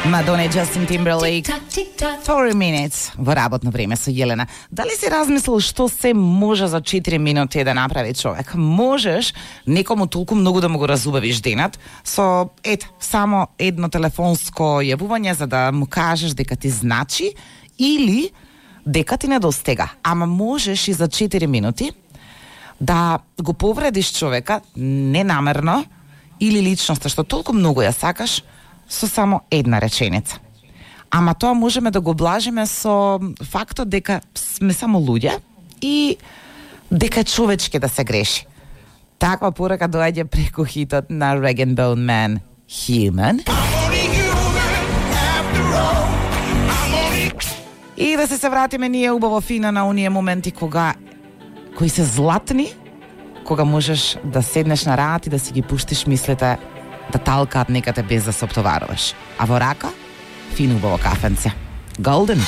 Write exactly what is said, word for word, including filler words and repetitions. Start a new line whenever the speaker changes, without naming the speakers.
Мадона и Джастин Тимберлейк, four minutes во работно време со Јелена. Дали си размислил што се може за четири минути да направи човек? Можеш некому толку многу да му го разубавиш денат со ет само едно телефонско јавување за да му кажеш дека ти значи или дека ти недостига. Ама можеш и за четири минути да го повредиш човека ненамерно или личноста што толку многу ја сакаш со само една реченица. Ама тоа можеме да го блажиме со фактот дека сме само луѓе и дека е човечки да се греши. Таква порака доаѓа преку хитот на Rag and Bone Man, Human. И да се се вратиме ние убаво фина на оние моменти кога кои се златни, кога можеш да седнеш на раат и да си ги пуштиш мислите да талкаат некаде без да се оптоваруваш. А во рака, фино убаво кафенце. Golden.